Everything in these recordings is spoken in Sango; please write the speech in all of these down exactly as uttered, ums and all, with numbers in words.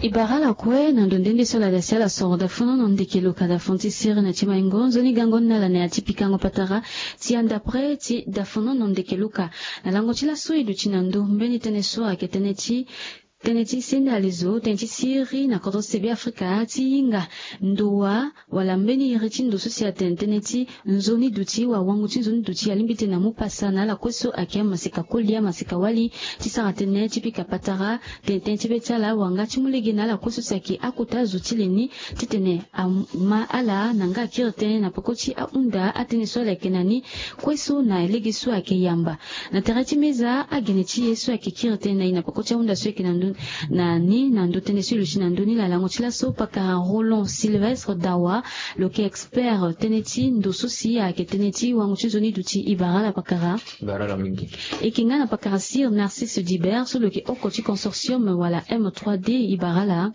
E bara ala kue na ndo nde nde so ala da si ala soro dafono na ndeke luka dafono ti siri na ti maingo nzoni gango ni na ala na ya ti pikango patara ti andapre ti dafono na ndeke luka. Na lango ti laso e duti na ndo mbeni tënë so ayeke tënë ti tënë ti senda lezo tënë ti siri na kodro ti se be afrika ti hinga ndowa wala mbeni iri ti ndo so si atene tënë ti nzoni duti wa wango ti nzoni duti alingbi tene amu pasa na ala kue so ayeke amaseka koli amaseka wali ti sara tënë ti pika patara tene tënë ti be ti ala wanga ti mu lege na ala kue so si ayeke akota zo ti le ni titene ama ala na nga akiri tënë na peko ti ahunda atënë so ala yeke na ni kue so na lege so ayeke yamba. Na tere ti meza agene ti e so ayeke kiri tënë na e na peko ti ahunda so ayeke na ndö na ni na ndö tënë so e luti na ndö ni lalango ti laso pakara Roland Sylvestre Dawa lo yeke expert tënë ti ndo so si ayeke tënë ti wango ti nzoni duti e bara ala pakara. Bara ala mingi. E yeke nga na pakara Sir Narcisse Dibert so lo yeke oko ti consortium wala M trois D e bara ala.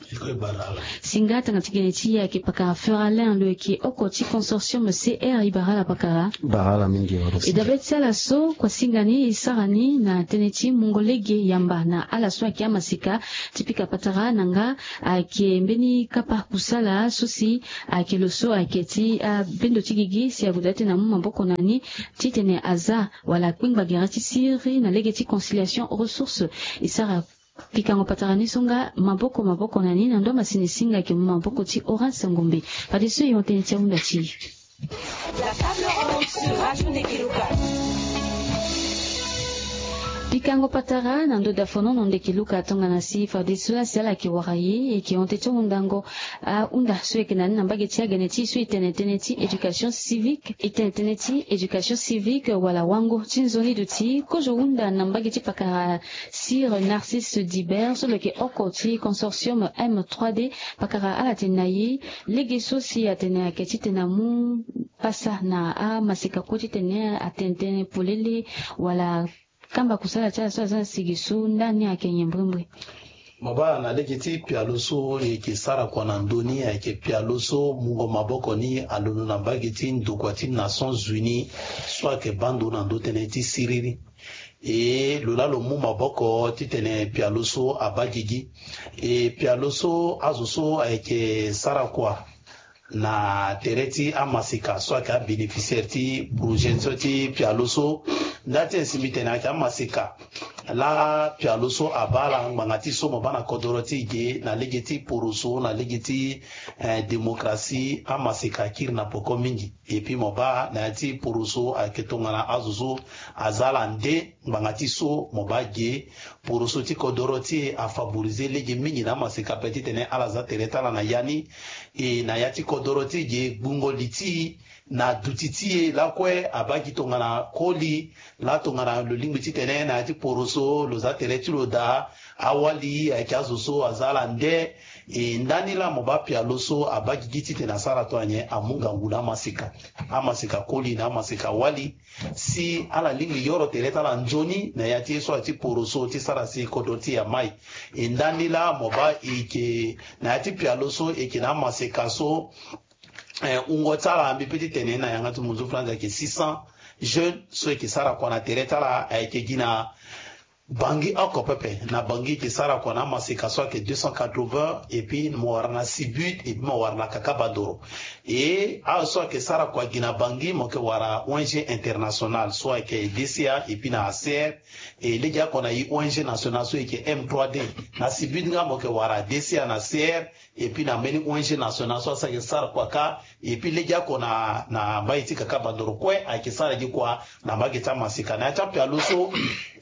Singa tanga ti gene ti e ayeke pakara Feralin lo yeke oko ti consortium C R e bara ala pakara. Bara ala mingi. E dabe ti ala so kua singa ni e sara ni na tënë ti mungo lege yamba na ala so ayeke amaseka ti pika patara na nga ayeke mbeni kapa kusala so si ayeke lo so ayeke ti abendo ti gigi si ague daa ti tene amu maboko na ni titene aza wala akpengba gere ti siri na lege ti conciliation ressource e sara pikango patara ni so nga maboko maboko na ni na ndo amasini singa ayeke mu maboko ti Horace Ngombe. Fadeso e hon tënë ti ahunda ti e. Pikango patara na ndo dafono na ndeke luka tongana si fadeso la si ala yeke wara ye e yeke hon tënë ti hundango ahunda so e yeke na ni na mbage ti agene ti e so e tene tënë ti éducation civique e tene tënë ti éducation civique wala wango ti nzoni duti kozo hunda na mbage ti pakara Sir Narcisse Dibert so lo yeke oko ti consortium M trois D pakara ala tene na ye lege so si atene ayeke titene amu pasa na amaseka kue titene atene tënë polele wala kamba kusala ti ala so aza na sigi so ndani ayeke nyen mbrimbri. Mo baa na lege ti pialo so e yeke sara kua na ndö ni ayeke pialo so mungo maboko ni alondo na mbage ti ndokua ti Nations Unies so ayeke baa ndo na ndö tënë ti siriri. E lo laa lo mu maboko titene pialo so abaa gigi. E pialo so azo so ayeke sara kua na tere ti amaseka so ayeke abénéficiaire ti projet so ti pialo so. Nda ti e si mbi tene ayeke amaseka laa pialo so abaa ala ngbanga ti so mo baa na kodoro ti e ge na lege ti poroso na lege ti eh, démocratie amaseka akiri na poko mingi. Et puis mo baa na ya ti poroso ayeke tongana azo so aza ala nde ngbanga ti so mo baa ge poroso ti kodoro ti e afavorisé lege mingi na amaseka ape titene ala za tere ti ala na ya ni. E na ya ti kodoro ti e ge gbungo li ti e na duti ti e lakue abaa gi tongana koli laa tongana lo lingbi titene na ya ti poroso lo za tere ti lo daa awali ayeke azo so aza ala nde. E ndani laa mo baa pialo so abaa gigi titene asara tongana nyen amu ngangu na amaseka. Amaseka koli na amaseka wali si ala lingbi yoro tere ti ala nzoni na ya ti ye so aye ti poroso ti sara si kodro ti e amai. E ndani laa mo baa e yeke na ya ti pialo so e yeke na amaseka so eh, wungo ti ala mbi pe ti tene na yanga ti munzu franz ayeke six cents jeunes so e yeke sara kua na tere ti ala ayeke gi na Bangui oko pepe na Bangui e yeke sara kua na amaseka so ayeke deux cent quatre-vingts et puis mo wara na Sibut et puis mo wara na Kakabandoro. E azo so ayeke sara kua gi na Bangui mo yeke wara O N G international so ayeke D C A et puis na A C R. E lege oko na e O N G national so e yeke M trois D. Na Sibut nga mo yeke wara D C A na C R. Et puis na mbeni O N G national so asara yeke sara kua kâ. Et puis lege oko na na mbage ti Kakabandoro kue ayeke sara gi kua na mbage ti amaseka na ya ti apialo so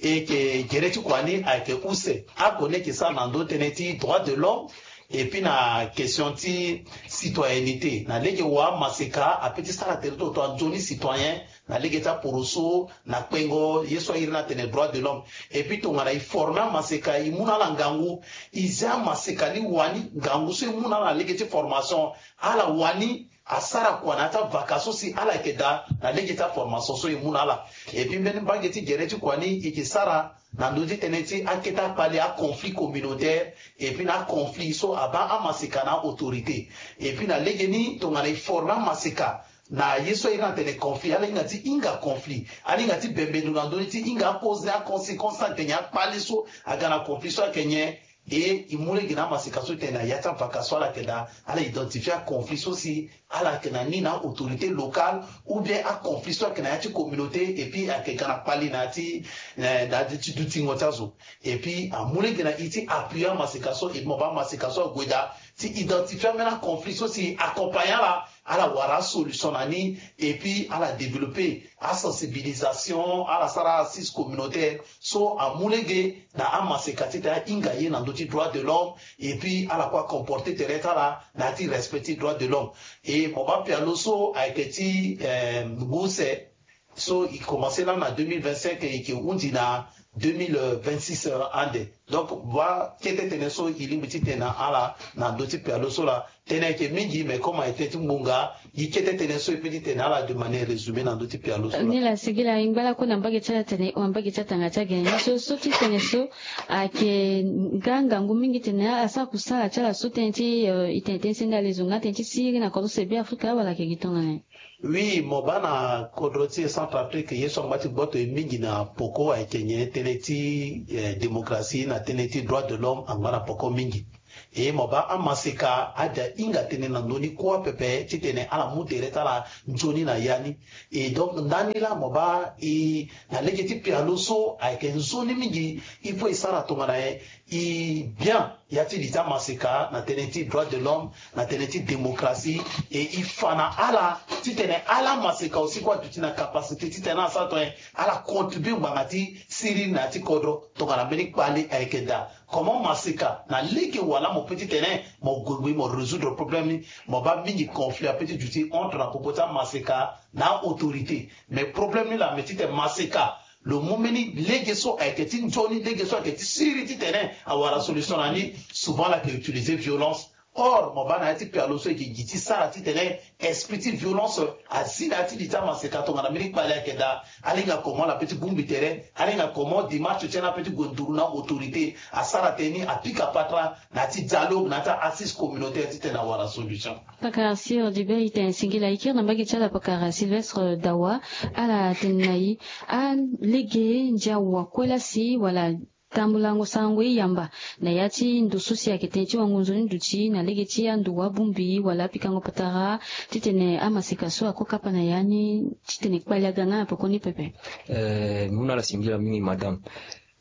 e yeke gere ti kua ni ayeke use oko ni e yeke sara na ndö tënë ti droit de l'homme. Et puis na question ti citoyennité na lege wa amaseka ape ti sara tere ti lo tongana nzoni citoyen na lege ti aporoso na kpengo ye so airi ni atene droit de l'homme. Et puis tongana e forme amaseka e mu na ala ngangu e zia amaseka ni wani ngangu so e mu na ala na lege ti formation ala wani asara kua na ya ti avaka so si ala yeke daa na lege ti aformation so e mu na ala. Et puis mbeni mbage ti gere ti kua ni e yeke sara na ndö ti tënë ti akete akpale aconflit communautaire. Et puis na aconflit so abaa amaseka na autorité. Et puis na lege ni tongana e forme amaseka na ye so airi ni atene conflit ala hinga ti hinga conflit ala hinga ti bembe ndo na ndö ni ti hinga aposer aconséquence so ayeke nyen akpale so aga na conflit so ayeke nyen. E e mu lege na amaseka so tene na ya ti avaka so ala yeke daa, ala identifier aconflit so si ala yeke na ni na autorité locale, ou bien aconflit so ayeke na ya ti communauté, et puis ayeke ga na kpali na ya ti eh, na ya ti dutingo ti azo. Et puis amu lege na e ti appuyer amaseka so, et mo baa amaseka so ague daa ti identifier ambeni aconflit so si accompagner ala, ala wara asolution na ni, et puis ala développer asensibilisation, ala sara assise communautaire. So amu lege na amaseka titene ahinga ye na ndö ti droit de l'homme, et puis ala kue acomporter tere ti ala na ya ti respect ti droit de l'homme. Et mo baa pialo so ayeke ti eh, ngu use, so e commencer lani na deux mille vingt-cinq, e yeke hundi na deux mille vingt-six ande. Donc baa kete tënë so e lingbi ti tene na ala na ndö ti pialo so laa, tënë ayeke mingi, mais comme ayeke tënë ti ngbonga, e kete tënë so e peut ti tene na ala de manière résumée na ndö ti pialo so laa. Ni laa, singila, e ngba lakue na mbage ti ala tene, na mbage ti atanga ti agene ni so, so ti tene so ayeke nga ngangu mingi tene asara kusala ti ala so tënë ti eh, e tene tënë ti sende alezo nga tënë ti siriri na kodro so e Be Afrika, wala ayeke gi tongana nyen? Oui, mo baa na kodro ti e Centrafrique, ye so angba ti gboto e mingi na poko ayeke nyen? Tënë ti eh, démocratie na tënë ti droit de l'homme angba na poko mingi. E mo baa amaseka ade ahinga tënë na ndö ni kua pepe titene ala mu tere ti ala nzoni na ya ni. Et donc ndani laa mo baa e na lege ti pialo so ayeke nzoni mingi, il faut e sara tongana nyen? E bien ya ti li ti amaseka na tënë ti droit de l'homme, na tënë ti démocratie, et e fa na ala titene ala maseka aussi kue aduti na capacité titene ala sara tongana nyen? Ala contribuer ngbanga ti siriri na ya ti kodro tongana mbeni kpale ayeke daa. Comment maseka na lege wala mo peut ti tene mo gue ngbii mo résoudre problème ni? Mo baa mingi conflit apeut ti duti entre na popo ti amaseka na autorité. Mais problème ni laa, me titene maseka lo mu mbeni lege so ayeke ti nzoni, lege so ayeke ti siriri titene awara solution na ni, souvent ala yeke utiliser violence. Or mo baa na ya ti pialo so e yeke gi ti sara titene esprit ti violence azi na ya ti li ti amaseka tongana mbeni kpale ayeke daa. Alinga comment ala peut ti bongbi tere, alinga comment démarche ti ala peut ti gue nduru na autorité, asara tënë ni apika patara na ya ti dialogue na ya ti assise communautaire titene awara solution. Pakara Sir Dibert, e tene singila, e kiri na mbage ti ala pakara Sylvestre Dawa. Ala tene na e, alege ndia wa kue laa si wala tambulango sarango e yamba na ya ti ndo so si ayeke tënë ti wango nzoni duti na lege ti ando wa bongbi wala apikango patara titene amaseka so ako kapa na ya ni titene kpali aga nga na pekoni pepe. Eh, mu na ala singila mingi, madame.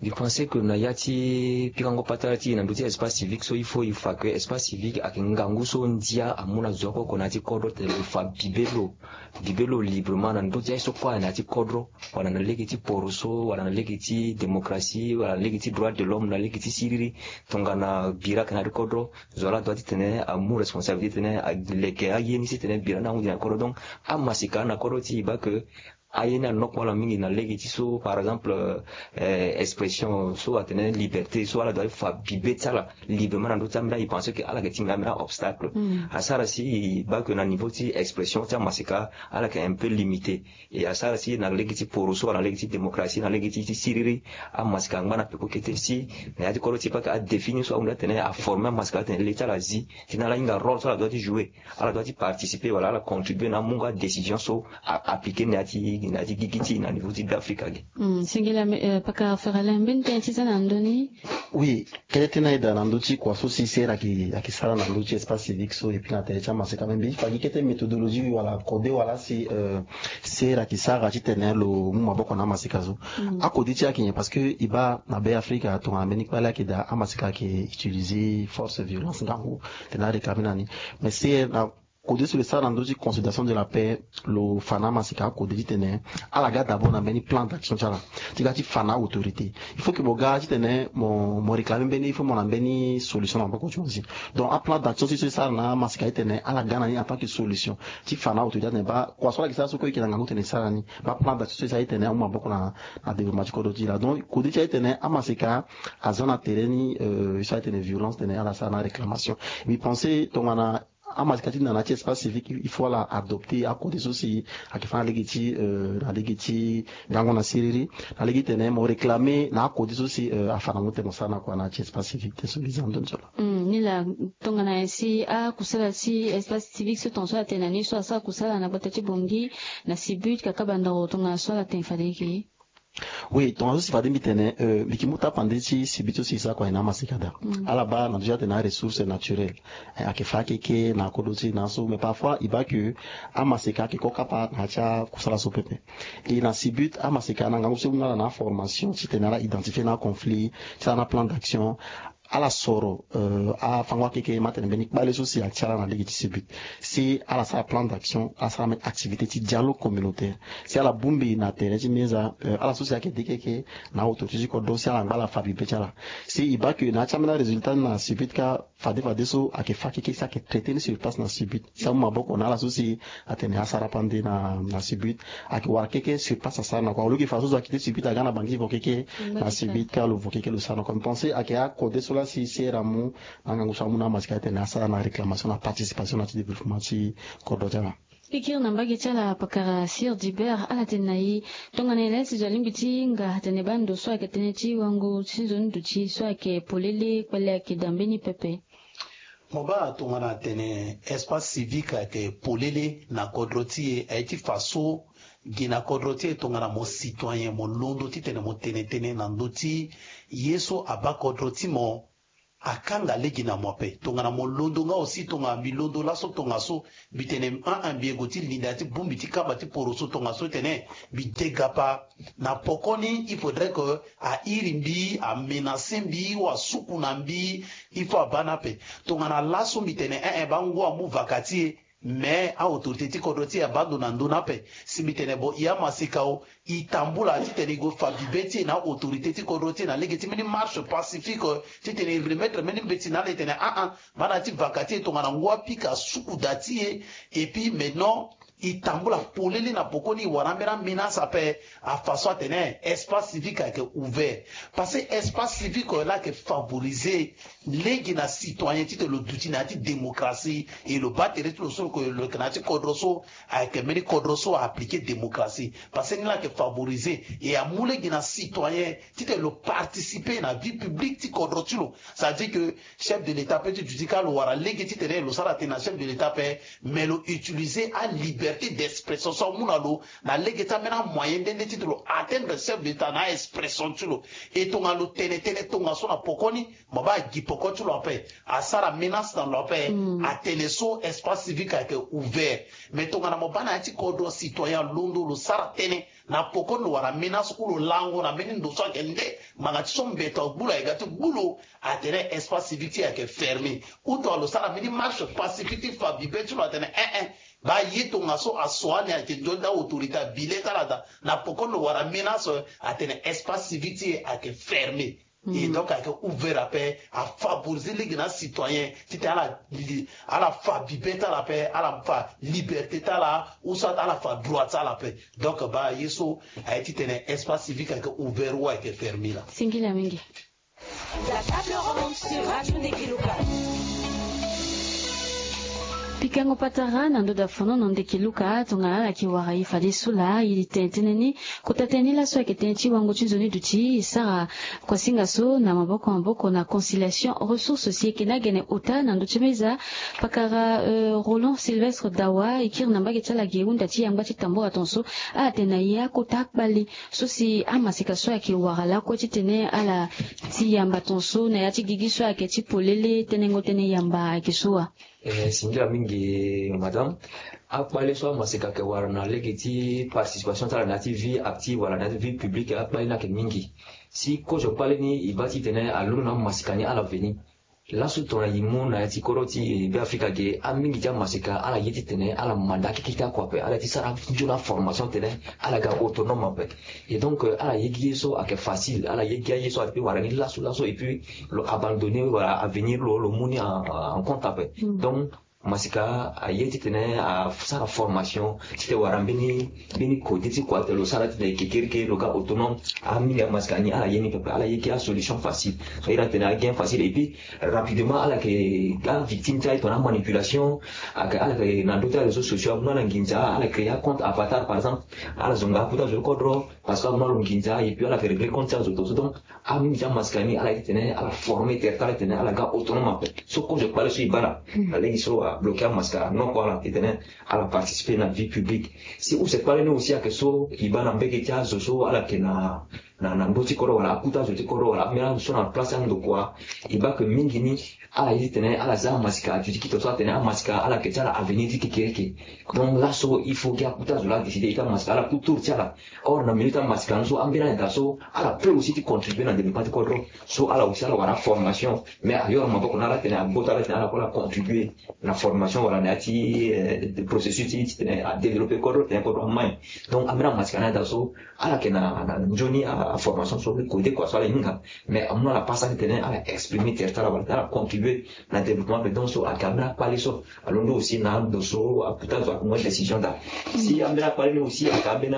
Mbi pense que na ya ti pikango patara ti e na ndö ti espace civique so, il faut e fa que espace civique ayeke ngangu so ndia amu na zo oko oko na ya ti kodro tene lo fa bibe lo, bibe lo librement na ndö ti aye so kue na ya ti kodro, wala na lege ti poroso, wala na lege ti démocratie, wala na lege ti droit de l'homme, na lege ti siriri. Tongana bira ayeke na ya ti kodro, zo ala doit titene amu responsabilité titene aleke aye ni titene bira ni ahunzi na kodro. Donc amaseka na kodro ti e baa que aye ni anokua ala mingi na lege ti so, par exemple, eh, expression so atene liberté so, ala doit fa bibe ti ala librement na ndö ti ambeni. E pense que ala yeke ti ngaa ambeni obstacle. Asara si e baa que na niveau ti expression ti amaseka ala yeke un peu limité. Et asara si na lege ti poroso, na lege ti démocratie, na lege ti, ti siriri, amaseka angba na peko kete si na ya ti kodro ti e baa que adéfini so ahunda tene aforme amaseka atene le ti ala zi titene ala hinga rôle so ala doit ti jouer. Ala doit ti participer wala ala contribuer na amungo adécision so a appliquer na ya ti, na ya ti gigi ti e na niveau ti Beafrika ge. Hmm, singila, eh, pakara Feralin, mbeni tënë ti za na ndö ni? Oui, kete tënë aye daa na ndö ti kua so si sera ayeke, ayeke sara na ndö ti espace civique so, et puis na tere ti amaseka, me mbi fa gi kete méthodologie wala kode wala si, eh, sera ayeke sara titene lo mu maboko na amaseka so. Akode ti e ayeke nyen? Parce que e baa na Beafrika tongana mbeni kpale ayeke daa, amaseka ayeke utiliser force, violence, ngangu titene aréclamer na ni. Mais sera na kode so lo sara na ndö ti consolidation de la paix, lo fa na amaseka akode titene ala ga d'abord na mbeni plan d'action ti ala ti ga ti fa na autorité. Il faut que mo ga titene mo, mo réclamer mbeni, il faut mo na mbeni solution na maboko ti mo aussi. Donc aplan d'action so e sara na amaseka titene ala ga na ni en tant que solution ti fa na autorité atene baa kua so ala yeke sara so kue e yeke na ngangu titene e sara ni. Baa plan d'action so e sara titene amu maboko na, na développement ti kodro ti e laa. Donc kode ti aye titene amaseka aza na tere ni, euh, e sara titene violence titene ala sara na réclamation. Mbi pense tongana amaseka ti na na ya ti espace civique, il faut ala adopter akode so si ayeke fa na lege ti, euh, na lege ti gango na siriri, na lege titene mo réclamer na akode so si, euh, afa na mo titene mo sara na kua na ya ti espace civique. Tënë so mbi za na ndö ni so laa. Hmm, ni laa, tongana nyen si akusala ti espace civique so tongaso atene na ni so asara kusala na gbata ti Bangui na Sibut, kakabandoro, tongana so ala tene fade eke? Oui, tongaso si fade mbi tene, euh, mbi yeke mu tapande ti sibit so si e sara kua na amaseka daa. Ala baa na ndö ti atene aressource naturelle, eh, ayeke fa keke na kodro ti e na so, mais parfois e baa ke amaseka ayeke ko kapa na ya ti akusala so pepe. E na sibit amaseka na ngangu so e mu na ala na aformation titene ala identifier na aconflit, ti ala na aplan d'action. Ala soro, euh, afango akeke, ma tene mbeni kpale so si atia ala na lege ti sibit, si ala sara plan d'action, ala sara mbeni activité ti dialogue communautaire, si ala bongbi na tere ti meza, euh, ala so si ayeke de keke na autorité ti kodro, si ala ngba ala fa bibe ti ala. Si e baa ke na ya ti ambeni arésultat ni na sibit kâ, fade fade so ayeke fa keke si ayeke traité ni sur place na sibit, si amu maboko na ala so si atene asara pande na, na sibit. Ayeke wara keke sur place asara na kua. Au lieu ke fadeso zo akite sibit aga na bangi vo keke na sibit kâ lo vo keke lo sara na kua. Mbi pense ayeke akode so laa si sera amu na ngangu so amu na amaseka atene asara na réclamation na participation na ti développement ti kodro ti ala. E kiri na mbage ti ala pakara Sir Dibert, ala tene na e tongana nyen laa si zo alingbi ti hinga atene baa ndo so ayeke tënë ti wango ti nzoni duti so ayeke polele kpale ayeke daa mbeni pepe. Mo baa tongana atene espace civique ayeke polele na kodro ti e, aye ti fa so gi na kodro ti e tongana mo citoyen mo londo titene mo tene tënë na ndö ti ye so abaa kodro ti mo, akanga lege na mo ape. Tongana mo londo nga aussi, tongana mbi londo laso tongaso, mbi tene, ah, ah, mbi yeke gue ti linda ti bongbi ti kamba ti poroso tongaso tene mbi de gapa. Na pokoni, il faudrait que a iri mbi, a menacer mbi, ou a suku na mbi, il faut a baa ni ape. Tongana laso mbi tene, eh, eh, baa ngu amu vaka ti e, mais a autorité ti kodro ti e abaa ndo na ndö ni ape. Si mbi tene bon, e amaseka o, e tambula titene e gue fa bibe ti e na autorité ti kodro ti e na lege ti mbeni marche pacifique, titene e remettre mbeni mbeti na ala, e tene, ah, ah, baa na ya ti vaka ti e, tongana ngu apika suku da ti e. Et puis maintenant, e tambula polele na pokoni, e wara ambeni amenace ape. Afa so atene espace civique ayeke ouvert. Parce que espace civique laa ayeke favoriser lege na citoyen titene lo duti na ya ti démocratie, e lo baa tere ti lo so lo yeke na ya ti kodro so, ayeke mbeni kodro so a appliquer démocratie. Parce que ni laa ayeke favoriser e amu lege na citoyen titene lo participer na vie publique ti kodro ti lo. Ça veut dire que chef de l'État peut ti duti kâ lo wara lege titene lo sara tënë na chef de l'État ape, mais lo utiliser aliberté d'expression so amu na lo na lege ti ambeni amoyen nde nde titene lo atteindre chef de l'État na aexpression ti lo. E tongana lo tene tënë tongaso na pokoni, mo baa agi poko ti lo ape, asara menace na lo ape, atene so espace civique ayeke ouvert. Mais tongana mo baa na ya ti kodro citoyen alondo lo sara tënë, na pokoni lo wara menace ou lo lango na mbeni ndo so ayeke nde ngbanga ti so mbeto agbu lo, ayeke ga ti gbu lo, atene espace civique ti e ayeke fermé. Ou tongana lo sara mbeni marche pacifique ti fa bibe ti lo atene, eh, eh, baa ye tongaso aso ani ayeke nzoni da autorité abi le ti ala daa. Na pokoni lo wara menace, atene espace civique ti e ayeke fermé. Et donc ayeke ouvert ape, a favoriser lege na acitoyen titene ala li-, ala fa bibe ti ala ape, ala fa liberté ti ala, ou soit ala fa droit ti ala ape. Donc baa ye so aye titene espace civique ayeke ouvert ou ayeke fermé laa. Singila mingi. La table ronde sur Radio Ndeke Luka. Pikango patara na ndo da fono na Ndeke Luka, tongana ala yeke wara e fadeso laa, e tene tënë ni, kota tënë ni laso ayeke tënë ti wango ti nzoni duti, e sara kuasinga so na maboko maboko na Conciliation Ressources, si e yeke na gene ota na ndö ti meza, pakara, euh, Roland Sylvestre Dawa, e kiri na mbage ti ala ge hunda ti yamba ti tambula tongaso, ala tene na e akota akpale so si amaseka so ayeke wara lakue titene ala ti yamba tongaso na ya ti gigi so ayeke ti polele, tenengo tënë yamba ayeke so wa? Eh, singila mingi, madame. Akpale so amaseka ayeke wara na lege ti participation ti ala na ya ti vie active wala na ya ti vie publique, akpale ni ayeke mingi. Si kozo kpale ni e baa titene alondo na amaseka ni ala veni. Laso tongana e mu na ya ti kodro ti Beafrika ge, amingi ti amaseka ala ye titene ala manda keke ti akua ape, ala ye ti sara nzoni aformation titene ala ga autonome ape. Et donc, euh, ala ye gi ye so ayeke facile, ala ye gi aye so ape wara ni laso laso, et puis lo abandonner wala avenir lo, lo mu ni en, en compte ape. Donc masika aye titene asara formation titene wara mbeni, mbeni kode ti kua titene lo sara titene kekereke lo ga autonome. Amingi amasika ni ala ye ni pepe, ala ye gi asolution facile. So ira titene again facile, et puis rapidement ala yeke avictime ti aye tongana amanipulation. Ayeke ala yeke na ndö ti aréseau sociaux, amu na ala nginza, ala créer acompte avatar par exemple, ala zonga akota zo ti kodro parce que amu na lo nginza, et puis ala yeke régler compte ti azo tongaso. Donc amingi ti amasika ni ala ye titene ala former tere ti ala titene ala ga autonome ape. So kozo kpale so e baa na lege so. abloke amasika na noko ala titene ala participer na vie publique. Si use kpale ni aussi ayeke so e baa na mbege ti azo so ala yeke na na na ndö ti kodro wala akuta azo ti kodro wala ambeni azo so na place ti andokua. E baa ke mingi ni ala ye titene ala za amasika, aduti kito so atene amasika ala yeke ti ala avenir ti kekereke. Donc laso il faut gi akuta azo laa décider e ti amasika ala ku tour ti ala. Or na milieu ti amasika ni so ambeni ayeda so ala peut aussi ti contribuer na développement ti kodro. So ala aussi ala wara formation, mais ayoro maboko na ala titene agbo ti ala titene ala kue ala contribuer na formation wala na ya ti processus ti titene adévelopper kodro titene kodro amai. Donc ambeni amasika ni ayeda so ala yeke na na nzoni aformation so kode kua so ala hinga. Mais amu na ala pasa titene ala exprimer tere ti ala wala titene ala contribuer na développement pe. Donc so ayeke ambeni akpale so alondo aussi na ando so akuta azo akongo décision daa. Si ambeni akpale ni aussi ayeke ambeni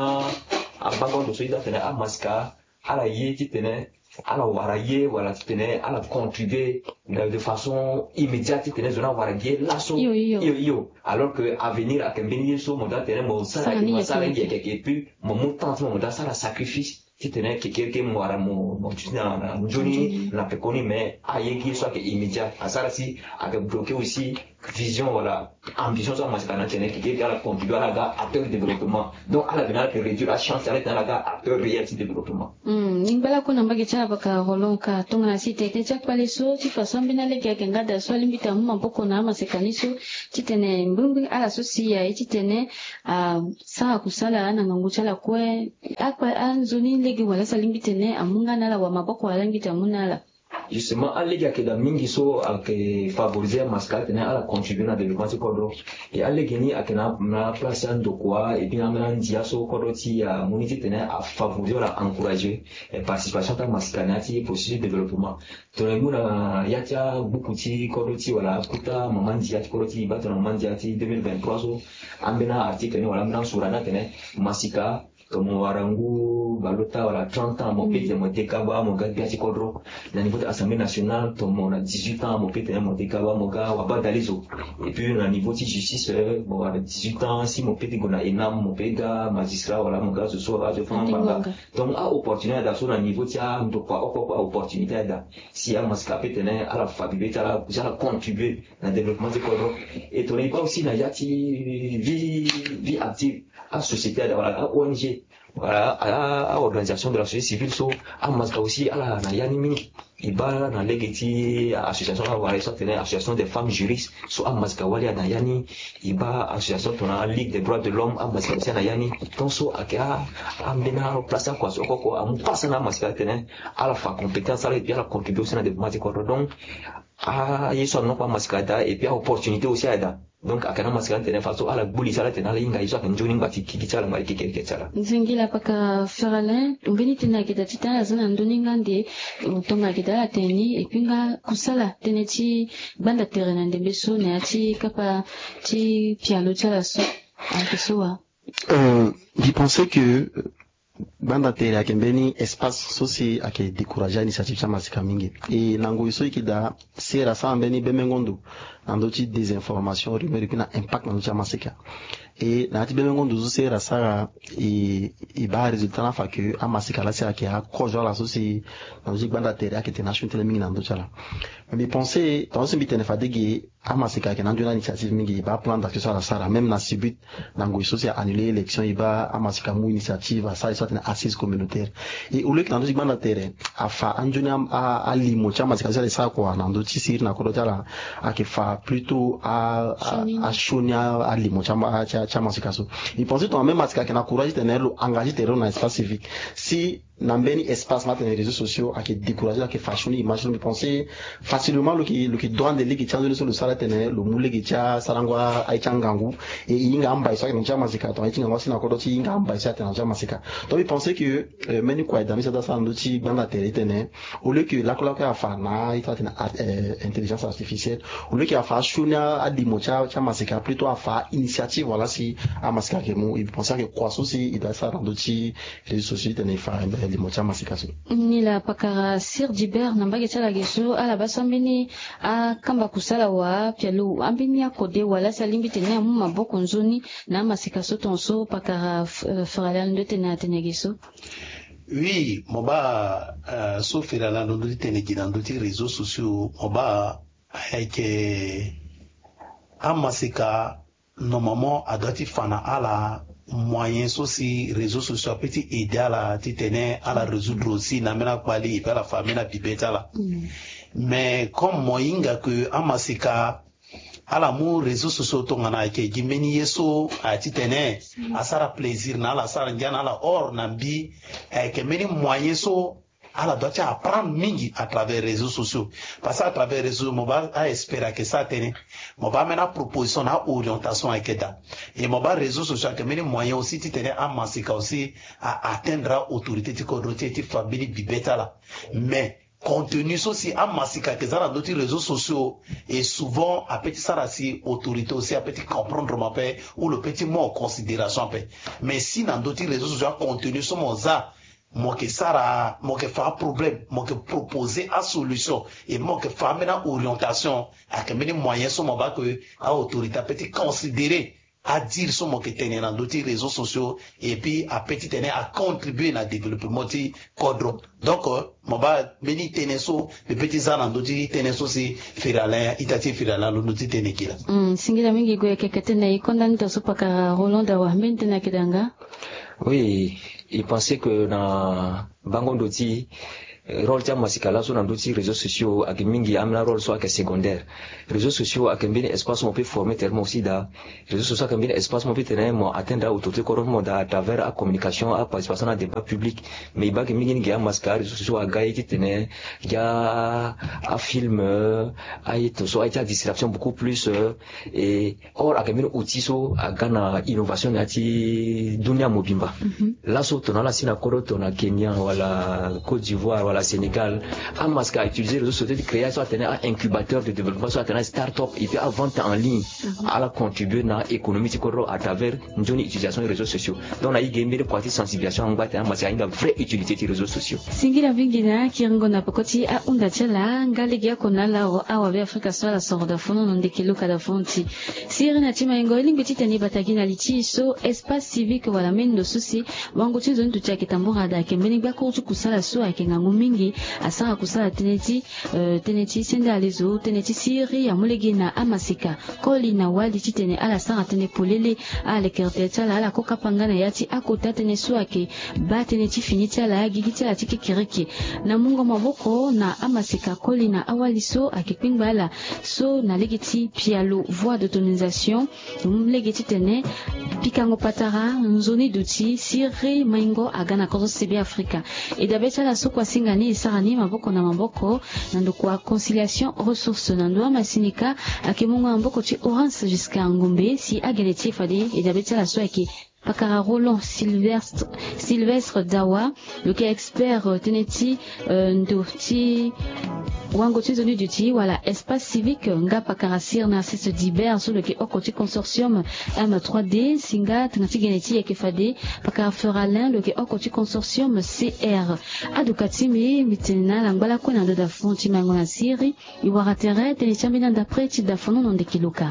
abango ando so e daa titene amasika ala ye titene ala wara ye wala titene ala contribuer de façon immédiate titene zo ni awara gi ye laso. Iyo, iyo. Iyo, iyo. Alors que avenir ayeke mbeni ye so mo daa titene mo sara, sara ni mo sara yeke yeke, et puis mo mu temps ti mo mo daa sara sacrifice titene kekereke mo wara mo mo duti na na nzoni na pekoni. Mais aye gi ye so ayeke immédiat asara si ayeke bloquer aussi vision wala ambition so amasika na tene kekereke ala contribuer ala ga acteur de développement. Donc ala bena ala yeke réduire achance ala tene ala ga acteur réel ti développement. Hmm, ni ngba lakue na mbage ti ala baka Roland ka tongana si tene ti akpale so ti fa so ambeni alege ayeke nga daa so alingbi tene amu maboko na amaseka ni so titene mbirimbiri ala so si aye titene asara kusala na ngangu ti ala kue. Akpa anzoni lege wala so alingbi tene amu nga na ala wala maboko wala alingbi tene amu na ala. Justement alege ayeke daa mingi so ayeke favoriser amasika titene ala contribuer na développement ti kodro. Et alege ni ayeke na na place ti andokua et puis na ambeni andia so kodro ti amu ni titene afavoriser wala encourager participation ti amasika na ya ti processus de développement. Tongana e mu na ya ti agbuku ti kodro ti wala akuta mama ndia ti kodro ti e baa tongana mama ndia ti deux mille vingt-trois so ambeni article ni wala ambeni asura ni atene masika tongana mo wara ngu baleota wala trente ans mo pe tene mo dekaba mo ga gbia ti kodro. Na niveau ti assemblée nationale tongana mo na dix-huit ans mo pe tene mo dekaba mo ga wabadalezo. Et puis na niveau ti justice mo wara dix-huit ans si mo pe ti gue na ENAM mo pe ga magistrat wala mo ga zo so azo fanga ngbanga. Donc aopportunité ayeda so na niveau ti andokua oko oko aopportunité ayeda si amasika ape tene ala fa bibe ti ala si ala contribuer na développement ti kodro. Et tongana e baa aussi na ya ti vie vie active asociété ayeda wala aONG wala aorganisation de la société civile so amasika aussi ala na ya ni mingi. E baa na lege ti association awara e so atene association des femmes juristes so amasika wali ayeda na ya ni. E baa association tongana ligue des droits de l'homme amasika aussi ayeda na ya ni. Donc so ayeke ambeni aplace akua so oko oko amu pasa na amasika atene ala fa compétence ala et puis ala contribuer aussi na développement ti kodro. Donc aye so anokpa amasika daa et puis aopportunité aussi ayeda. Donc ayeke na amasika ni tene faso ala gbu li ti ala tene ala hinga ye so ayeke nzoni ngba ti gigi ti ala ngba ti kekereke ti ala. Nzengila paka Feralin, mbeni tënë ayeke daa ti tene ala za na ndö ni nga nde tongana ayeke daa ala tene ni et puis nga kusala tënë ti gbanda tere na ndembe so na ya ti kapa ti pialo ti ala so ayeke so wa. Euh, mbi pense que gbanda tere ayeke mbeni espace so si ayeke décourager initiative ti amasika mingi. E na ngoi so e yeke daa sera sara mbeni bembengo ndo na ndö ti désinformation, rumeur et puis na impact na ndö ti amasika. E na ya ti bembengo ndo so sera sara e e baa résultat ni afa que amasika laa si ayeke akozo ala so si na ndö ti gbanda tere ayeke tene asioni tënë mingi na ndö ti ala. Mbi pense tonga so si mbi tene fade ge amasika ayeke na anzoni initiative mingi e baa plan d'action so ala sara même na sibut na ngoi so si a annuler élection e baa amasika amu initiative asara ye so atene assise communautaire. E au lieu que na ndö ti gbanda tere afa anzoni alimo ti amasika so si ala e sara kua na ndö ti siriri na kodro ti ala ayeke fa plutôt asioni alimo ti amasika so. E pense tongana même masika ayeke na courage ti tene lo engage tere lo na espace civique si na mbeni espace ma tene réseaux sociaux ayeke décourager lo ayeke fa sioni image ti lo. Mbi pense facilement lo yeke lo yeke dua ande lege ti anzoni so lo sara tene lo mu lege ti asarango aye ti angangu. E e hinga ambai so ayeke na ndö ti amasika tongana aye ti ngangu asi na kodro ti e hinga ambai so ayeke na ndö ti amasika. Donc mbi pense que mbeni kua e daa mbeni so daa sara na ndö ti gbanda tere ti tene au lieu que lakue lakue afa na aye ti atene intelligence artificielle au lieu que afa asioni alimo ti amasika plutôt afa initiative wala si amasika ayeke mu. E mbi pense ayeke kua so si e daa sara na ndö ti réseaux sociaux ti tene e fa limo ti amasika so. Nilaa pakara Sir Gilbert na mbage ti ala ge so ala baa so ambeni akamba kusala wa apialo ambeni akode wala si alingbi tene amu maboko nzoni na amasika so tongaso pakara Feralin alondo ti tene atene ge so. Oui mo baa so Feralin alondo ti tene ge na ndö ti réseaux sociaux mo baa ayeke Amaseka normalement a doit ti fa na ala moyen so si réseau sociaux ape ti aider ala titene ala résoudre aussi na ambeni akpali et puis ala fa ambeni abibe ti ala. Mais comme mo hinga ke amaseka ala mu réseau sociaux tongana ayeke gi mbeni ye so aya titene asara plaisir na ala, asara ngia na ala, or na mbi ayeke mbeni moyen so ala doit ti apprendre mingi à travers réseaux sociaux. Parce que à travers réseaux mo baa espérer ayeke sara tënë, mo baa ambeni aproposition na aorientation ayeke daa. Et mo baa réseaux sociaux ayeke mbeni moyen aussi titene amaseka aussi a atteindre autorité ti kodro ti e ti fa mbeni bibe ti ala. Mais contenu so si amaseka ayeke za na ndö ti réseaux sociaux, et souvent ape ti sara si autorité aussi ape ti comprendre mo ape, ou lo pe ti mu en considération ape. Mais si na ndö ti réseaux sociaux acontenu so mo za, mo yeke sara, mo yeke fa aproblème, mo yeke proposer asolution, et mo yeke fa ambeni aorientation, ayeke mbeni moyen so mo baa ke aautorité ape ti considérer adire so mo yeke tene na ndö ti réseaux sociaux, et puis ape titene acontribuer na développement ti kodro. Donc mo baa mbeni tënë so mbi pe ti za na ndö ti tënë so si Ferre Alain, ita ti Ferre Alain alondo ti tene gi laa. Singila mingi. Gue keke tënë e konda ni to so pakara Roland Dawa, mbeni tënë ayeke daa nga? Oui, il pensait que na bango ndo ti rôle ti amasika laso na ndö ti réseaux sociaux ayeke mingi, ambeni arôle so ayeke secondaire. Réseaux sociaux ayeke mbeni espace mo pe former tene mo aussi daa. Réseaux sociaux ayeke mbeni espace mo pe tene mo atteindre autorité kodro ti mo daa à travers acommunication, aparticipation na débat public. Mais e baa ayeke mingi ni gi amasika aréseaux sociaux aga ye titene gi afilm, aye to so aye ti adistraction beaucoup plus. Et or ayeke mbeni outil so aga na innovation na ya ti dunia mobimba. Laso tongana ala si na kodro tongana Kenya wala Côte d'Ivoire wala Sénégal, amasika autiliser réseaux sociaux ti créer so atene aincubateur de développement, so atene start-up, et puis avente en ligne. Ala contribuer na économie ti kodro à travers nzoni utilisation réseaux sociaux. Donc na e ge mbeni kua ti sensibilisation angba tene amasika ahinga vraie utilité ti réseaux sociaux. Singila mingi na kiringo na peko ti ahunda ti ala. Nga lege oko na ala awabe Afrika so ala soro daa funu na ndeke luka daa funu ti siriri na ti maingo, e lingbi titene e bata gi na li ti e so espace civique wala mbeni ndo so si wango ti nzoni duti ayeke tambura daa ayeke mbeni gbakuru ti kusala so ayeke ngangu mingi. Asara kusala tënë ti tënë ti sende alezo, tënë ti siriri amu lege na amaseka koli na wali titene ala sara tënë polele. Ala lekere tënë ti ala, ala kokapa nga na ya ti akota tënë so ayeke baa tënë ti fini ti ala, gigi ti ala ti kekereke. Na mungo maboko na amaseka koli na awali so ayeke kpengba ala so na lege ti pialo, voie d'autonomisation, lege titene pikango patara nzoni duti siriri maingo aga na kodro ti Sebe Afrika. E dabe ti ala so kua singa ni e sara ni maboko na maboko na ndokua Conciliation Ressource na ndo amasini ka ayeke mungo na maboko ti Orange Jusqu'à Ngombe si agene ti e fade e dabe ti ala so ayeke pakara Roland Sylvestre, Sylvestre Dawa, lo yeke expert tënë ti ndo ti wango ti nzoni duti wala espace civique, nga pakara Sir Narcisse Dibert so lo yeke oko ti consortium M trois D, si nga tanga ti gene ti e ayeke fade pakara Ferre Alain lo yeke oko ti consortium C R. Aduka ti mbi, mbi tene na ala ngbalakue na ndo dafon ti mango na siriri. E wara tere tënë ti ambeni anda pre ti dafon na ndeke luka.